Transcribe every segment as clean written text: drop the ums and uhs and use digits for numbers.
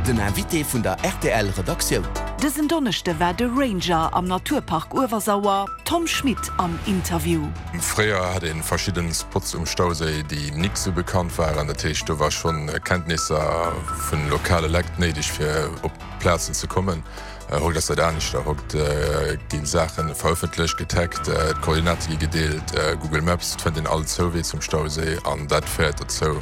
Den Invité vun der rtl Redaktioun. Dësen Donneschde war de Ranger am Naturpark Uewersauer, Tom Schmit, am Interview. Fréier hat een verschidden Spots um Stauséi déi nik sou bekannt waren, dat heescht do war schon Kenntnisser vun lokale Lekt néideg fir op Plazen ze kommen. Haut ass dat aneschter, haut ginn Saachen verëffentlecht, getaggt, d'Koordinate gi gedeelt, Google Maps, et fënnt een all Zouwee zum Stauséi an dat féiert dozou,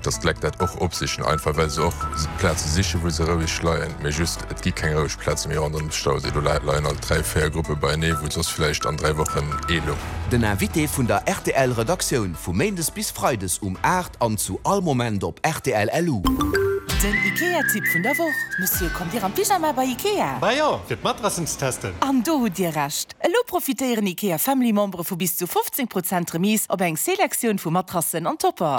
dass d'Lekt dat och opsichen, einfach well se och Plaze sichen, wou se roueg leien. Mee just, et gi keng roueg Plaze méi ronderëm de Stauséi, do leien alt 3, 4 Gruppe beienee, wou soss vläicht an 3 Wochen ee loung. Den Invité vun der rtl Redaktioun vu Méindes bis Freides um 8 an zu all Moment op rtl LU. Den Ikea-Tipp vun der Woch, Monsieur, kommt Dir am Pyjama bei Ikea? Bah jo, fir d'Matrassen ze testen. An do hutt Dir Recht! Elo profitéieren Ikea Family Membere vu bis zu 15 Prozent Remise op eng Selektioun vu Matrassen an Topper.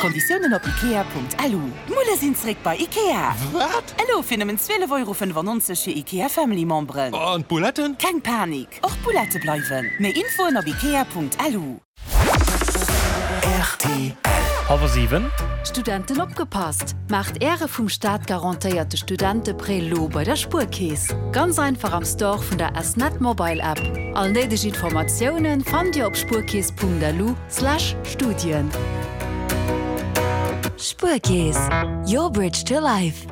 Konditiounen op ikea.lu. D'Mulle sinn zeréck bei Ikea! Wat? Elo fir nëmmen 12,95 Euro fir Ikea Family Memberen. An d'Bouletten? Keng Panik, och d'Boulette bleiwen. Méi Infoen op ikea.lu. Rtl. Halwer 7. Studenten opgepasst! Maacht Äre vum Staat garantéierte Studenteprêt lo bei der Spuerkeess. Ganz einfach am Store vun der S-Net Mobile App. All néideg Informatioune fannt Dir op spuerkeess.lu slash Studien. Spuerkeess, your bridge to life.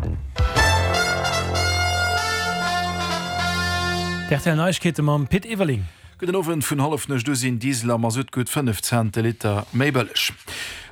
D'RTL Neiegkeete mam Pit Everling. Gudden Owend, Vun Hallefnuecht u sinn Diesel a Masutt gutt 5 Cent de Liter méi bëlleg.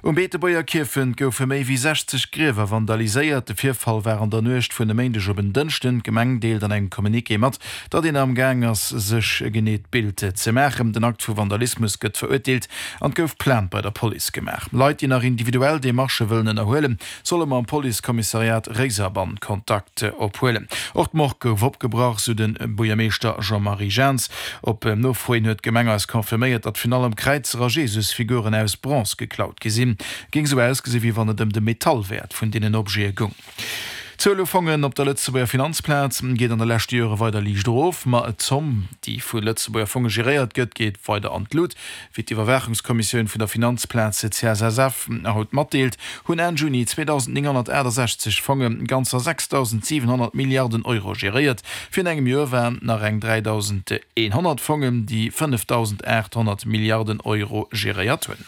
Um Beetebuerger Kierfent goufe méi wéi 60 Griewer vandaliséiert. De Virfall war an der Nuecht vun e Méindeg op en Dënschden. D'Gemeng deelt an engem Communiqué mat, datt een am Gaang ass, sech e geneet Bild ze maachen. Den Akt vu Vandalismus gëtt verurteelt an et gouf Plainte bei der Police gemaach. Leit, déi nach individuell Demarchë wëllen ënnerhuelen, solle mam Policekommissariat Réiserbann Kontakt ophuelen. Och d'Morgue gouf opgebrach, sou de Buergermeeschter Jean-Marie Jahns. Op Nofro hin huet d'Gemeng eis confirméiert, datt virun allem Kräizer a Jesusfiguren aus Bronze geklaut gi sinn. Géing sou ausgesi wéi wann et ëm de Metallwäert vun deenen Objete goung. D'Zuel u Fongen op der Lëtzebuerger Finanzplaz geet an de leschte Jore weider liicht erof, ma d'Zomm, déi vu Lëtzebuerger Fonge geréiert gëtt, geet weider an d'Lut. Wéi d'Iwwerwaachungskommissioun vun der Finanzplaz CSSF haut matdeelt, hunn Enn Juni 2.968 Fonge ganzer 6.700 Milliarden Euro geréiert. Virun engem Joer waren et nach eng 3.100 Fongen, déi 5.800 Milliarden Euro geréiert hunn.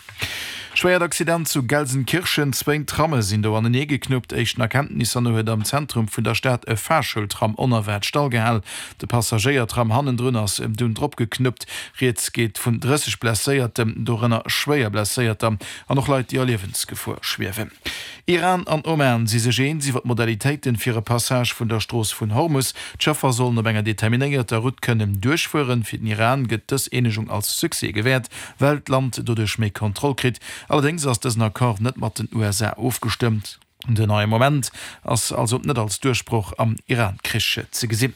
Schwéiert Accident zu Gelsenkirchen, Zwéin Tramme sinn do anenee geknuppt. Éischten Erkenntnisser no huet am Zentrum vun der Stad e Fahrschultram onerwaart stallgehal. De Passagéiertram hannendrun ass dunn drop geknuppt. Rieds geet vun 30 Blesséierten, dorënner schwéier Blesséierter an och Leit, déi a Liewensgefor schwiewen. Iran an Oman si sech eens iwwer d'Modalitéiten fir e Passage vun der Strooss vun Hormus. D'Schëffer sollen op enger determinéierter Route kënnen duerchfueren. Fir den Iran gëtt dës Eenegung als Succès gewäert, well d'Land doduerch méi Kontroll kritt. Allerdéngs ass dësen Accord net mat den USA ofgestëmmt. Den neie Moment ass also net als Duerchbroch am Iran-Krich ze gesinn.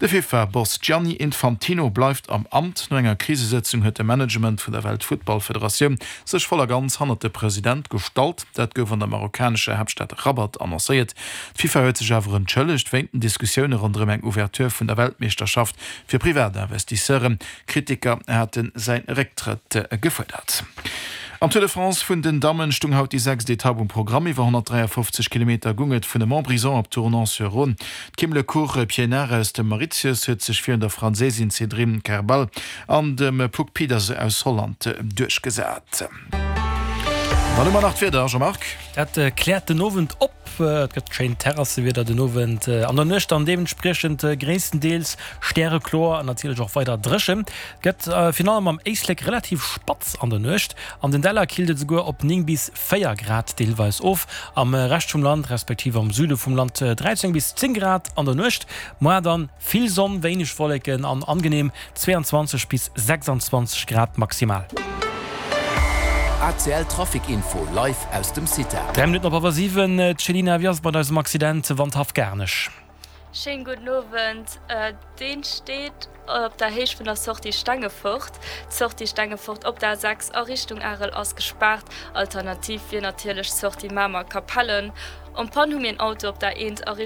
De FIFA-Boss Gianni Infantino bleift am Amt. No enger Krisesëtzung huet de Management vun der Weltfuttballfederatioun sech voll a ganz hannert de President gestallt. Dat gouf an der marokkanescher Haaptstad Rabat annoncéiert. D'FIFA huet sech awer entschëllegt wéint den Diskussioune ronderëm eng Ouverture vun der Weltmeeschterschaft fir Privatinvestisseuren. Kritiker hate säi Récktrëtt gefuerdert. Am Tour de France vun den Dammen stung haut déi sechst Etapp um Programm. Iwwer 153 Kilometer gung et vun Montbrison op Tournon-sur-Rhône. D'Kim Le Court Pienaar aus dem Mauritius huet sech virun der Franséisin Cédrine Kerbaol an dem Puck Pieterse aus Holland duerchgesat. Dann hu mer nach d'Wieder, Jean-Marc. Dat kläert den Owend op. Et gëtt schéint Terrassewieder den Owend an der Nuecht dann deementspriechend gréisstendeels stärekloer an natierlech och weider dréchen. Et gëtt virun allem am Éislek relativ spatz an der Nuecht. An den Däller killt et esouguer op 9 bis 4 Grad deelweis of. Am Rescht vum Land, respektiv am Süde vum Land 13 bis 10 Grad an der Nuecht. Moar dann Vill Sonn, wéineg Wolleken an angenehm 22 bis 26 Grad maximal. ACL Trafic Info live aus dem CITA. 3 Minutten op hallwer 7, Céline, wéi ass et mat eisem Accident Wandhaff Garnech? Schéin gudden Owend. Deen steet op der Héicht vun der Sortie Stengefort. D'Sortie Stengefort op der A6 a Richtung Arel ass gespaart. Alternativ wier natierlech d'Sortie Mamer Capellen. En Panne hu mir en Auto op der 1 a Richtung.